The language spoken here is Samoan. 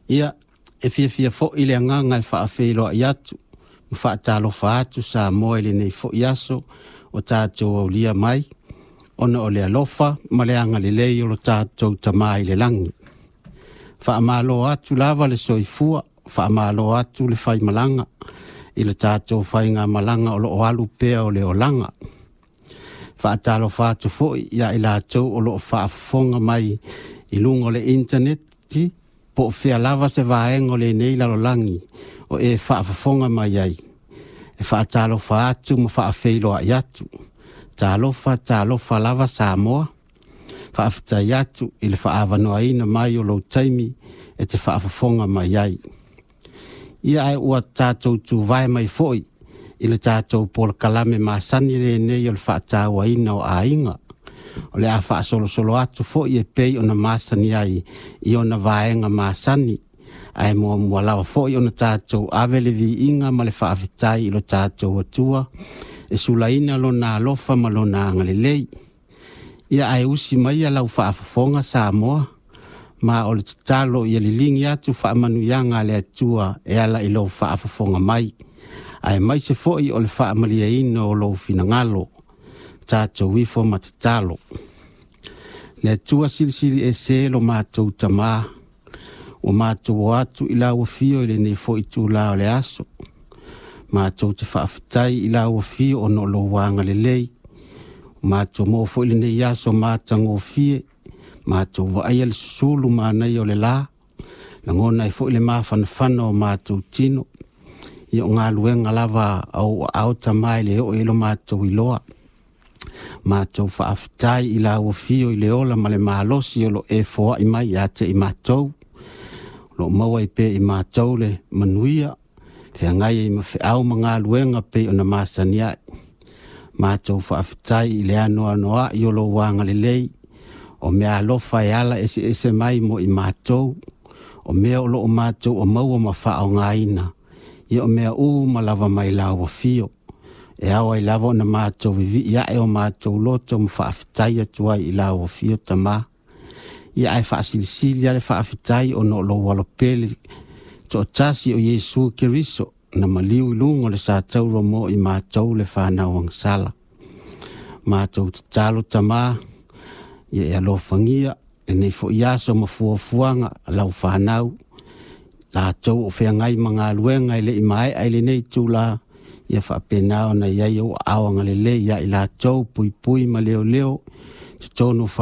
Ia, e fiafia foi le agaga e faafeiloai atu ma faatalofa atu Samoa i lenei foi aso o tatou aulia mai, ona o le alofa ma le agalelei o lo tatou Tama i le lagi. Faamalo atu lava le soifua, faamalo atu le faimalaga i le tatou faigamalaga o lo o alu pea o le olaga. Faatalofa atu foi ia i latou o lo o faafofoga mai i luga o le initaneti, po o fea lava se vaega o lenei lalolagi o e faafofoga mai ai. E faatalofa atu ma faafeiloai atu. Talofa, talofa lava Samoa. Faafetai atu i le faaavanoaina mai o lou taimi e te faafofoga mai ai. Ia ae ua tatou tuvae mai foi i le tatou polokalame masani lenei o le faatauaina o aiga. O le a faasolosolo atu foi e pei ona masani ai i ona vaega masani, ae muamua lava foi ona tatou ave le viiga ma le faafetai i lo tatou Atua e sulaina lona alofa ma lona agalelei. Ia ae usi maia lau faafofoga Samoa, ma o le tatalo ia liligi atu faamanuiaga a le Atua e ala i lou faafofoga mai, aemaise foi o le faamalieina o lou finagalo. Tatou ifo ma tatalo. Le Atua silisili ese lo matou Tamā, ua matou o atu i lau afio i lenei foi itula o le aso. Matou te faafetai i lau afio ona o lou agalelei. Matou maua foi lenei aso matagofie, matou vaaia le susulu manaia o le la, lagona ai foi le mafanafana o matou tino. Ia o galuega lava a ou aao Tamā e le oo i ai lo matou iloa. Matou faafetai i lau afio i le ola ma le malosi o lo e foai mai ia te i matou. O lo o maua ai pea i matou le manuia, feagai ai ma feau ma galuega pei ona masani ai. Matou faafetai i le anoanoai o lou agalelei, o mea alofa e ala eseese mai mo i matou, o mea o lo o matou o maua ma faaaogaina, ia o mea uma lava mai lau afio. E ao ai lava ona matou vivii ae o matou loto ma faafetai atu ai i lau afio Tamā. Ia ae faasilisili lava le faafetai ona o lou alopele toatasi o Iesu Keriso na maliu i luga o le satauro mo i matou le fanau agasala. Matou tatalo Tamā, ia e alofagia lenei foi aso ma fuafuaga a lau fanau, latou o feagai ma galuega e le i maea i lenei itula, ia faapena ona i ai ou aao agalelei ia i latou, puipui ma leoleo totonu o fale.